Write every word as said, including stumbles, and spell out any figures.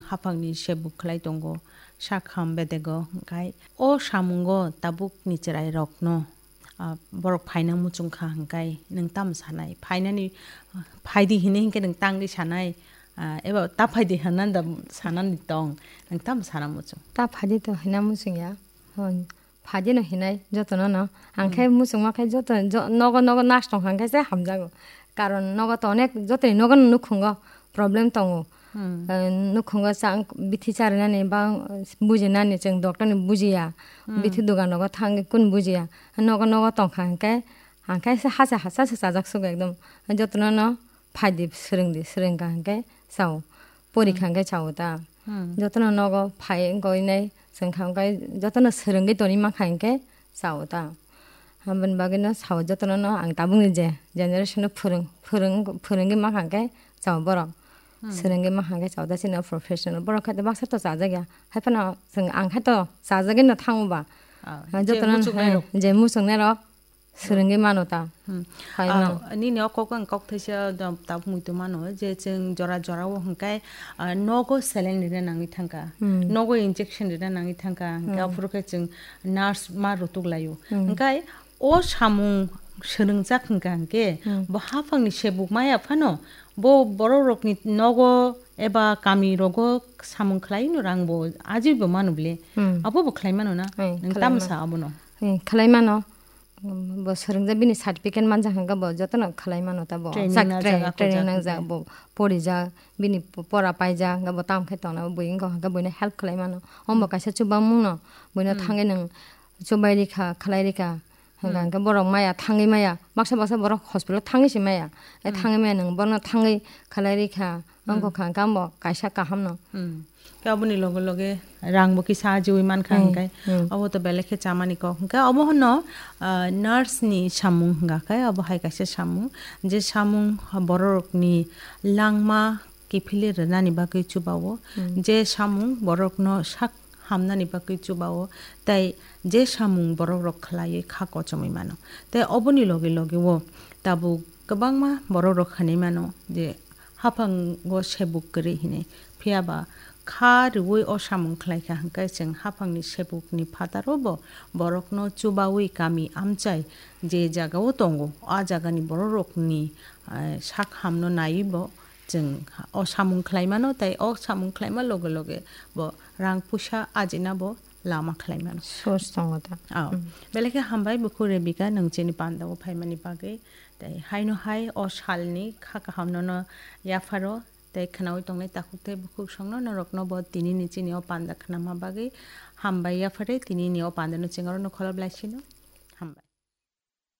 haphangni sebuk khlai tongo, sak ham bedego, hwnkhe o samungo tabukni chwrairokno, ah, borok phaina muchung kha hwnkhe nwng tamo sanai? Phainani, ah, phaidi hinwi hinkhe nwng tangwi sanai, ah, eba ta phaidi hinwi da sanani tong, nwng tamo sana muchung? Ta phaidi to hina muchung ya. Hon, phaidi no hinai jotono no. Ang khe muchungma khe joto, jo-, nogo, nogo nas tong kha hwnkhe se hamjago. Karon nogo to onek jotoni nogo no nukhungo problem tongo. Hmm. Eh, nukhungo chang bithi charinani ba bujinani chwng doctor ni bujiya. Hmm. Bithi dugan rogo thangwi kun bujiya. Nogo, nogo tong kha hwnkhe, ang khe se hacha, hacha se chajak sugo ekdom. Jotono no phaidi swrwngdi, swrwng kha hwnkhe chao. Pori kha hwnkhe chao ta. Hmm. Jotono nogo phai wngkha oinai, chwng kha hwnkhe jotono swrwngwi toni mankha hwnkhe chao ta. Aboni bagwino sao jotono no ang tabukni je generation no phwrwng, phwrwng, phwrwngwi mankha hwnkhe chao borok. Hmm. Swrwngwi mankha hwnkhe chao ta chini professional. Borok khe baksa to chajak ya. Haiphano chwng ang khe to chajagwi no thango ba. Ah, je jotono muchungnai rok. Je muchungnai rok. Swrwngwi mano ta. Hmm. Hai Ah, mano. Nini o kok ang kok thaisa do-, tabuk muitu mano je chwng jora jora o hwnkhe, ah, nogo saline rina nangwi thangkha. Hmm. Nogo injection rina nangwi thangkha. Hwnkhe Hmm. aphuru khe chwng nurse ma rutuk laio. Hmm. Hwnkhe o samung swrwngjak hwnkha hwnkhe Hmm. bo haphangni sebuk maya phano bo borok rokni nogo eba kami rogo samung khlai no rang bo ajui bo mano ble. Hmm. Abo bo khlai mano na? Hmm, Nang khlai tamo mano. Sa abono? Hmm, khlai mano. Bo swrwngjak bini certificate manjak hwnkhe bo jotono khlai mano ta bo. Training Sak-, najak, tra-, ako training jak nangjak hwnkhe. Bo porijak, bini po-, pora paijak, hwnkhe bo tamo khe tongna bo bui wngkha hwnkhe buino help khlai mano. Omo Hmm. kaisa chubamung no, buino Hmm. thangwi nwng chubai rikha, khlai rikha. Hwnkha Hmm. hwnkhe borok maya, thangwi maya, baksa baksa borok hospital thangwi se maya. E Hmm. thangwi maya nwng bono thangwi khlai rikha, Hmm. wngkha hwnkhe amo kaisa kaham no. Hmm. Khe aboni loge loge rang bo kisa ajiui mankha Hmm, hwnkhe hmm. abo to belai khe chamani kok. Hwnkhe abo hwnno, ah, nurse ni samung hwnkha khe abo hai kaisa samung. Je samung borok rokni langma kiphilwi rwnani bagwi chubao. Hmm. Je samung borok no sak hamnani bagwi chubao. Tei je samung borok rok khlaiwi kha kochomwi mano. Tei oboni loge loge o tabuk kwbangma borok rok hinwi mano je haphango sebuk kwrwi hinwi. Phiya ba kha rwui o samung khlai kha hwnkhe chwng haphangni sebukni phataro bo borokno chubaui kami amchai je jagao tongo, a jagani borok rokni, eh, sak hamno naiwi bo chwng o samung khlai mano, tei o samung khlaima loge loge bo rang puisa ajina bo lama khlai mano. Source tongo ta. Oh. Hmm. Belai khe hambai bukhuk Rebecca, nwng chini pandao phaimani bagwi. Tei haino hai o salni kha kahamno no yapharo. Tei khwnaui tongnai takhuk tei bukhuk songno norokno bo tinini chini o panda khnama bagwi hambai yaphare. Tinini o pandano chwng aro no kholop lai sino.